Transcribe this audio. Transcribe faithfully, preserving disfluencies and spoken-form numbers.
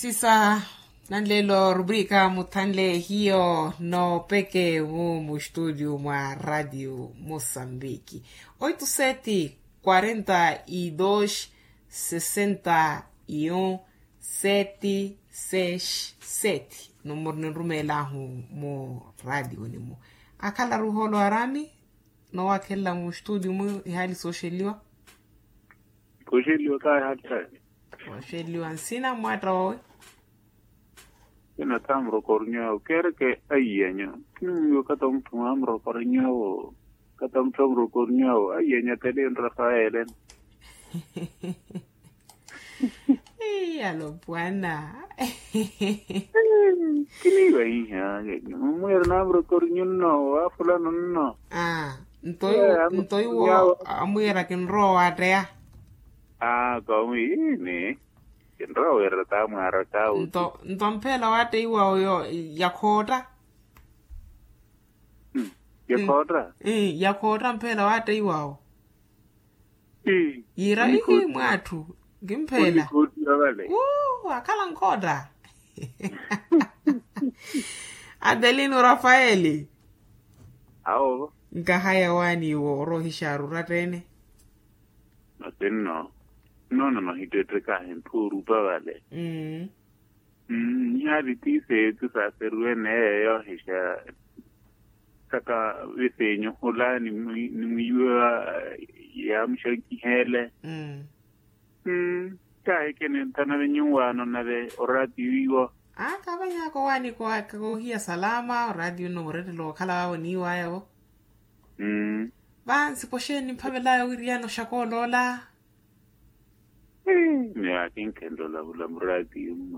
Sisa nanlelo rubrika muthanle hiyo noopeke mu mustutio mwa radio mosambiki. Oito sete quarenta e dois sessenta e um sete seis sete numero ninrumeelahu mu radio nimu. Akhalaru holo arami. Nowakhelela mustutio mu ihali soxeliwa. Koxeliwa kaahali. Oxeliwa nsina mwatta wawe. Ina thamuro kornyawo kereke. Aiyanyo. Kiniwiwe kata mutthu mwa muro kornyawo. Kata mutthu muro kornyawo aiyanyo atele nrafaele. Iyalo pwana. Kiniwa iha. Mwira namuro kornyo nno wafulano nno. Nto iwo amwira kinrowa watteya. Aa kawi ini. Kinrowa wira tamwara kawi. Nto mphela watteiwa oyo yakhootta. Yakhootta. Yakhootta mphela watteiwa o. Yiira ihi mwatthu. Nkimphela. Akhala nkhotta. Adelino rafaeli. Awo. Nkahaya waani iwo oroohixaaru ratteene. Masinno. Nnoona nohittettekahi nthu orupa vale. Mmm. Ihaari ti seethu saaseriwe neeyo hixa. Saka visenyu hula ni mwiiwa yaamuxankiheele. Mmm. Kaahikene nthana venyuwaano nave oraatiyo iwo. Aa kaavanyaka owaani koohiya salama oraatiyo nno murettelo wookhala waavo niiwayavo. Mmm. Vansi poxeeni nimphavelaya owiriyana oxakooloola. Miyo akinkhenlola hula muraatiyo mmu.